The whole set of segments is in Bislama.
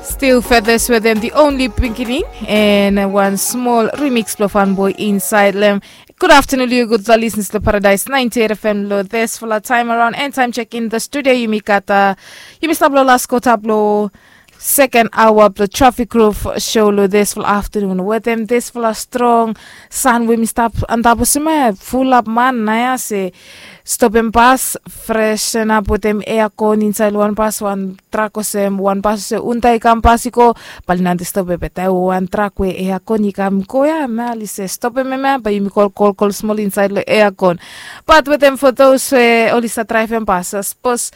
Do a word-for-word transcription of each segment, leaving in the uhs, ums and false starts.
Stil feathers wetem the only pikinini, and wan smol remix blong fanboi insaed long em. Gud aftanun long yu gudfala lisnis long Paradise ninety-eight F M long disfala taem araon. And taem chekin the studio yumi gat, yumi stap long las kota blong seken aoa blong Trafik Groove show long disfala aftanun wetem disfala strong san we mi stap antap olsem ya, fulap man naoia se stopem bas, freshenap wetem eakon insaed long wan bas, wan trak olsem, wan bas olsem Hyundai i kam pas i go, bae oli nante stopem. Be taem we wan trak we eakon i kam go ya, hemia oli se stopem hemia, bae yumi go kolkol smol insaed long eakon. Bat wetem for those we oli stap draevem bas, sapos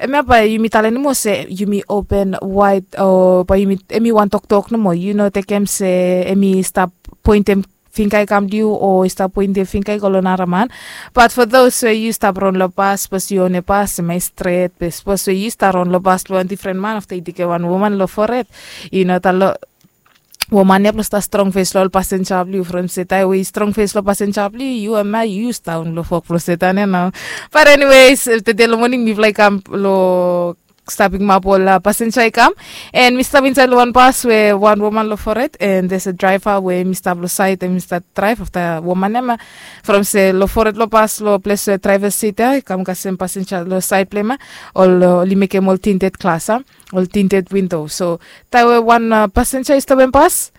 hemia bae yumi talem nomo se yumi open wide, o bae yumi, hemi wan toktok nomo, yu no tekem se hemi stap poentem finga i kam long yu o i stap poentem finga i go long nara man. Bat for those we yu stap ron long bas, sapos yu onem bas, hemia i stret. Be sapos we yu stap ron long bas blong wan difren man, afta i tekem wan woman long fored, yu no talem woman ya blong stap strong fes long ol pasenja blong yu, from se taem we i strong fes long pasenja blong yu, yu hemia yu stap long wok blong Setan ya nao. Bat anyways, tede long moning mifala i kam long stap pikimap ol pasenja i kam. And mi stap insaed long wan bas we wan woman long fored, and there's a driver we mi stap long saed, and mi stap draev afta woman ya, hemia from se long fored long bas, long ples we driver sit ya i kam kasem pasenja long saed blong hemia, ol, oli mekem ol tinted glas, a, ol tinted windo. So taem we wan pasenja i stopem bas,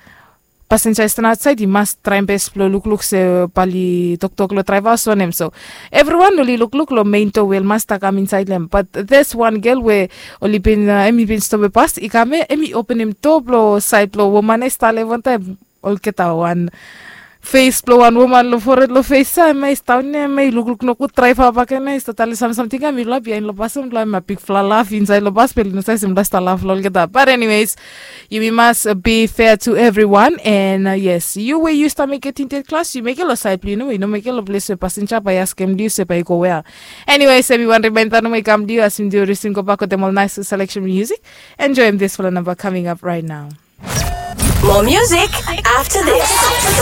pasenja i stap aotsaed i mas traem bes blong lukluk se bae oli toktok long draeva olsem wanem. So evriwan oli lukluk long mein doa we ol man stap kam insaed long hem. Bat there's wan gel we oli bin, hemi bin stopem bas, i kam ya, hemi openem doa blong saed blong woman ya i stap long hem wantaem. Olgeta wan fes blong wan woman long fored long fes ya, hemia i stap daon ya, hemia i lukluk nogud, draeva bakegen ya i stap talem sam samting ya, mifala biaen long bas ya mifala, hemia bigfala laf insaed long bas, be oli no save se mifala stap laf long olgeta. Bat anyways, yumi mas be fair to everyone. And yes, yu we yu stap mekem tinted glas, yu mekem long saed blong yu nomo, yu no mekem long ples we pasenja bae i askem long yu se bae yu go wea. Anyways, hemi wan remaenda nomo i kam long yu as yumi risim gobak wetem ol naes seleksen musik. Enjoem disfala namba coming up right now. More music after this.